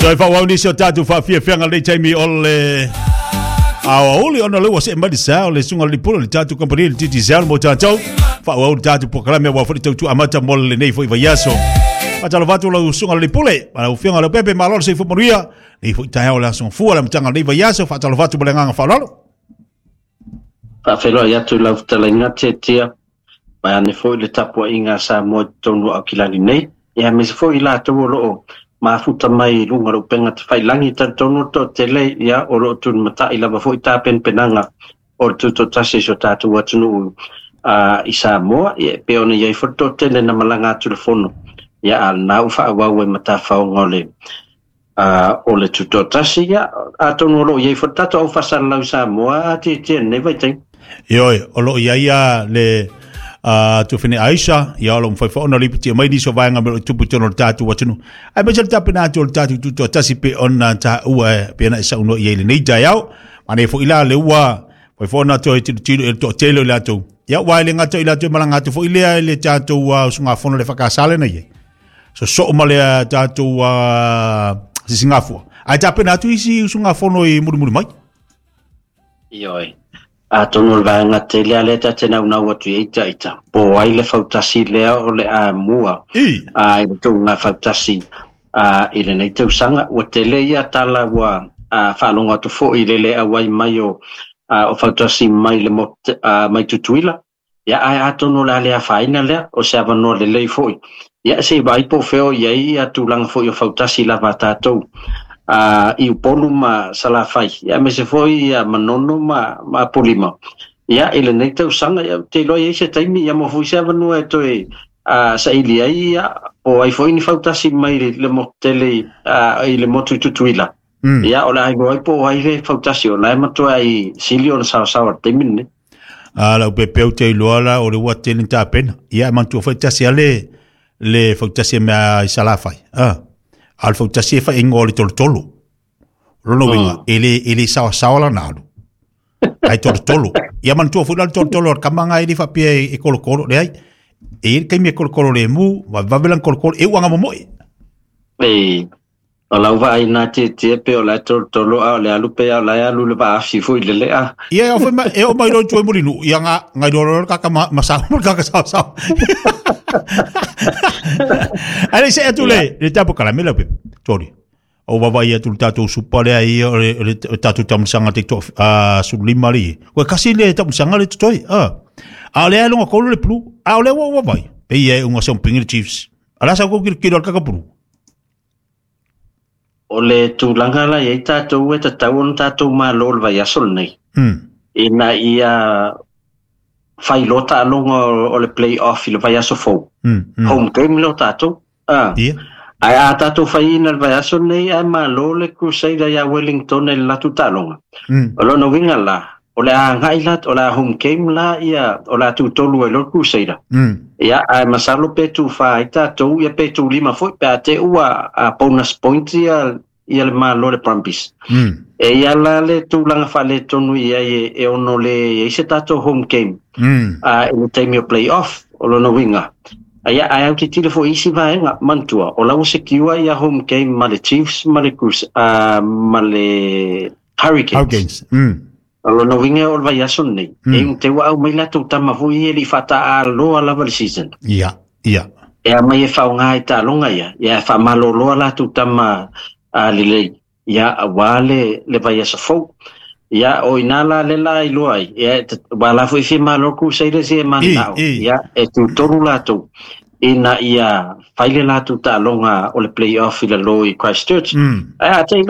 Toe faaauau nisi o tatou faafiafiaga lenei taimi o le aoauli ona lea ua see mai le sa o le susuga i le Pule o le tatou kamupani le Digicel mo tatou faaauau le tatou polokalame aua foi le tautua amata mo lenei foi vaiaso. Faatalofa atu lau susuga i le Pule, lau Afioga Leaupepe, malo le soifua manuia. Lenei foi taeao o le aso Gafua, le amataga o lenei vaiaso, faatalofa atu ma le agaga faaaloalo. Faafeiloai atu i lau fetalaiga Tietia, vaeane foi le tapuaiga a Samoa i totonu o Aukilani nei, ia aemaise foi i latou o lo o mafuta mai i luga o le upega tafailagi. Talitonu le toatele, ia, o lo o tulimatai lava foi tapenapenaga o le tutoatasi o si o tatou atunuu i Samoa, ia, e pei ona i ai foi le toatele na malaga atu i le fono, ia, a o lena ua faaauau ai ma tafaoga o le o le tutoatasi, ia, atonu o lo o i ai foi le tatou au faasalalau i Samoa a tietie i lenei vaitaimi. Ioe, o lo o i ai a le Tufine Aisha, ia o lo o mafai foi ona lipotia mai nisi o vaega o lo o tupu i totonu o le tatou atunuu. Aemaise le tapena atu o le tatou tutoatasi pei ona taua e pei ona e saunoa i ai i lenei taeao. Manaia foi la le ua mafai foi ona toe tilotilo i le toatele o i latou. Ia, aua e le gata o i latou e malaga atu foi lea i le tatou usugafono i le EFKS lea na i ai. Sosoo ma le tatou sisigafua. Ae tapena atu isi usugafono i mulimuli mai. Ioe. Atonu o le vaega tele a lea ta te naunau atu i ai ita, po ai le fautasi lea o le amua i le tuuga fautasi i lenei tausaga. Ua tele ia tala ua faalogo atu foi i le le auai mai o fautasi mai le mai Tutuila. Ia, ae atonu o le a le afaina lea, o se avanoa lelei foi. Ia, se i vaai po o fea o i ai ia tulaga foi o fautasi lava a tatou i Upolu ma Salafai, ia, aemaise foi ia Manono ma Apolima. Ia, i lenei tausaga, ia, ou te iloa e i ai se taimi, ia, maua foi se avanoa e toe saili ai, ia, po o ai foi ni fautasi mai le motu tele i le motu i Tutuila. Ia, o le a iloa ai po o ai le fautasi, o la e matuai sili ona saosaoa i le taimi lenei. A lau pepeu te iloa la o le ua tele ni tapena. Ia e manatua foi tasi a le fautasi e mea i Salafai. A o le fautasi e fai ingoa o le tolotolo. O lona uiga, e le saosaoa lana alu. Ai tolotolo. Ia manatua foi la le tolotolo o le kama nga e le faapea e kolokolo. Leai, e i ai le taimi e kolokolo lemu, vavevave lana kolokolo, e uaga momoe. E, O lau vaai na tietie pe o la e tolotolo a o le alu pe a o la e alu le vaafi foi le lea. Ia e foi ma e o mai lo tue muri nu ia nga ngai lo lo kaka ma ma sa mo kaka sa sa. Ale se atu le le tapo kala me la pe. Sorry. O vava ia tu tatou supa le ai o le tatou tamusanga te to a sulima li. Ko kasi le tamusanga le toi. A. A le alonga kolu le plu. A o le wa wa vai. Pe ia unga se pingi le Chiefs. Ala sa ko kilo kilo kaka plu. O le tulaga la i ai tatou e tatau ona tatou malo le vaiaso lenei. Ina ia fai loa taaloga o le play off i le vaiaso fou. Home game lea o tatou. Ah. Yeah. Ae a tatou faiina le vaiaso lenei ae malo le Crusader ia Wellington i le latou taaloga. O lona uiga la, o le a agai la, o le a home game la ia, o le a tutolu ai loa le Crusader. Ia, ae masalo pe tufa ai tatou, ia pe tulima foi, pe a te ua a bonus point ia, ia le malo le Brumbies. E ia la le tulaga faaletonu i ai e ono le i ai se tatou home game i le taimi o play off, o lona uiga. Ia, ae autitilo foi i isi vaega, manatua, o la ua secure ia home game ma le Chiefs ma le, ma le Hurricanes. Hurricanes. O lona uiga o le vaiaso lenei, e te ua au mai latou tama foi e le i faataaloa lava le season. Ia, ia. E a mai e faaaoga i taaloga ia, ia e faamaloloa latou tama lelei, ia aua le vaiaso fou. Ia, o ina la le la iloa ai, ia, ua la foi fia malo Crusaders ia e mananao, ia, e tutolu latou, ina ia fai le latou taaloga o le play-off i lalo i Christchurch. Ae a te ila